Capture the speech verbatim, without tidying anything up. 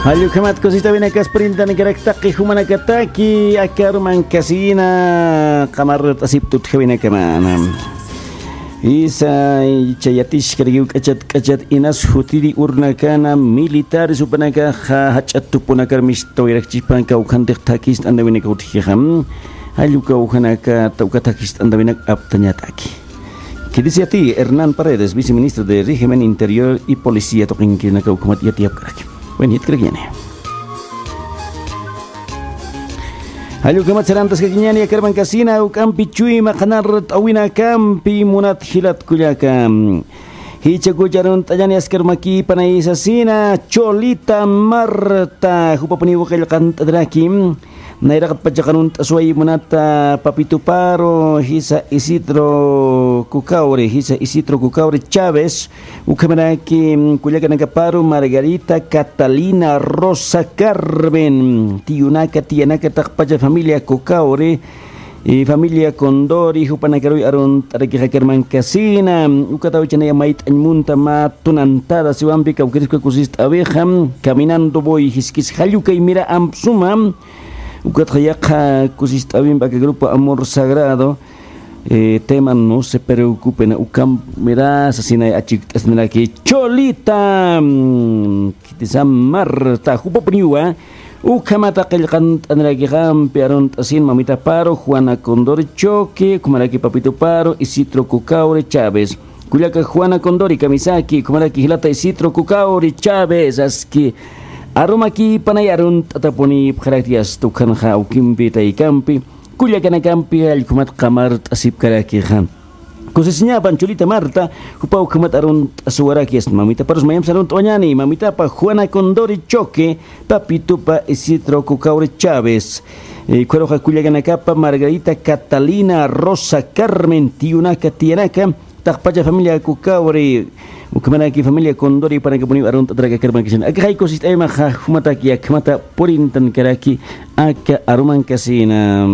Jallukhamat kusist'awinakas purintanakarak taqi jumanakataki, aka arumankasina qamart'asiptut jawinakamana. Isa, icha yatishkarkiw k'achat k'achat inas jutiri urnakana militares jupanakaxa jach'at tupunakar mist'awirakchispan kawkhantix thakist'anawinaka utjixa. Jallu kawkhanakata uka thakist'antawinak aptañataki. Khitisi yati Hernán Paredes, viceministro de Régimen Interior y Policía, tuqinkinaka ukhamat yatiyapkaraki. Buen, jitkarakiñani. Jallukhamat sarantaskakiñani, aka armankasina juk'ampi chuyma qhanart'awinakampi munat jilat kullaka. Jichhakuch arunt'añani askar makïpanay sasina, Cholita Marta, jupapuniw qillqant'ataraki. Nayraqatpachax arunt'asway munata Papito Paro, jisa Isidro Cucaure, jisa Isidro Cucaure Chávez, ukhamaraki, mm, kullakanakaparu Margarita Catalina Rosa Carmen, tiyunaka, tiyanaka, taqpacha familia Cucaure, y familia Condori, jupanakaruy arunt'arakixa aka armankasina, ukataw chanaya mayt'añ munta mä tunantada siwampi kawkiriska kusist'awixa, caminando voy jiskis jallukay mira amp suma, ukatxa yaqha kusist'awimp aka grupo Amor Sagrado, eh, tema No se preocupen, ukamp mira sasinay achikt'asinaraki Cholita, mm, Khitisa Marta, jupapuniwa ukhamata qillqant'anirakixa, ampi arunt'asin mamita Paro, Juana Condori Choque, ukhamaraki Papito Paro, Isidro Cucaure Chávez. Kullaka Juana Condori kamisaki, ukhamaraki jilata Isidro Cucaure Chávez, aski arumakïpanay arunt'atapunipxarakti, asta ukhanxa awkimpi taykampi, kullakanakampi jallukhamat qamart'asipkarakixa. Kusisiñapan Cholita Marta, jupa ukhamat arunt'asuwaraki, asta mamita Paros mayamsa arunt'awañani, mamitapa Juana Condori Choque, Papitupa Isidro Cucaure Chávez. Eh, ukharuxa kullakanakapa Margarita Catalina Rosa Carmen, tiyunaka, tiyanaka, taqpacha familia Cucaure, ukhamaraki familia Condori panakapuniw arunt'ataraki aka armankasina. Aka jay kusist'aymaxa jumataki akhamata purintankaraki aka arumankasina.